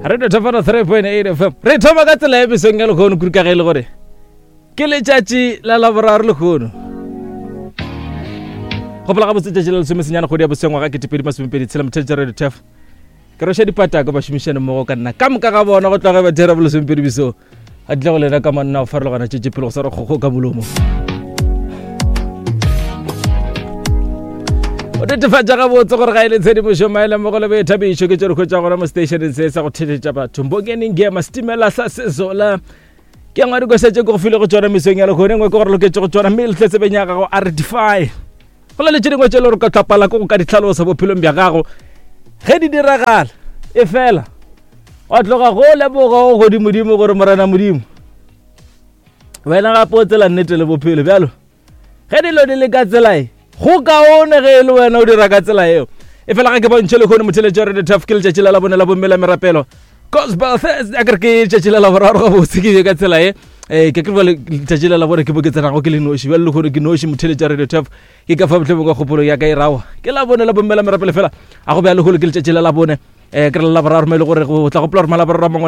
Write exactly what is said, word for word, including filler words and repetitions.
Radio Thapana three point eight F M. Re thoma ka tsela e mesong ya lekgono kudu ka ge e le gore ke letšatši la Laboraro lekgono. Gopola gabotse letšatši la lesome senyane kgwedi ya bosengwa ga ketepedi masomepedi tshela motheletša Radio Turf. Ke roša dipatako bašomišane mmogo ka nna ka moka ga bona go tloga ba dira bolesomepedi besong. A tle go lena ka manna go farologana tšetše pele go sa re kgokgo ka molomo. O netefatša gabotse gore ga e le tshedimošo maele mmogo le boithabišo ke tše re hwetša gona mo stationeng se sa go theletša batho. Mbongeneng Ngema setimela sa Sezola. Ke ngwe dikoša tše ke go file go tšona mesong ya lekgono, engwe ke gore loketše go tšona mme le tle tsebeng ya gago a re defy. Go na le tše dingwe tše le gore ka tlapala ke go ka di hlalosa bophelong bja gago ge di diragala e fela wa tloga go leboga go godimodimo gore Morena Modimo wena gape o tsela nnete le bophelo. Bjalo ge dilo di le ka tsela e go kaone ge e le wena o dira ka tsela eo. E fela ga ke bontšhe lekgono motheletši wa Radio Turf ke letšatši la labone la bomme la merapelo Gospel Thursday. A kere ke letšatši la Laboraro gabotse ke be ka tsela e. Eh, ke kere bjale letšatši la Labone ke bo ke tsenago ke le noši. Bjale lekgono ke noši motheletši wa Radio Turf. Ke ka fa mohlomong ka kgopolo ya ka e rawa. Ke Labone la bomme la merapelo fela. A go bjale lekgono ke letšatši la Labone. Eh, ke re la Laboraro mo e le gore go tla gopola gore Malaboraro a mangwe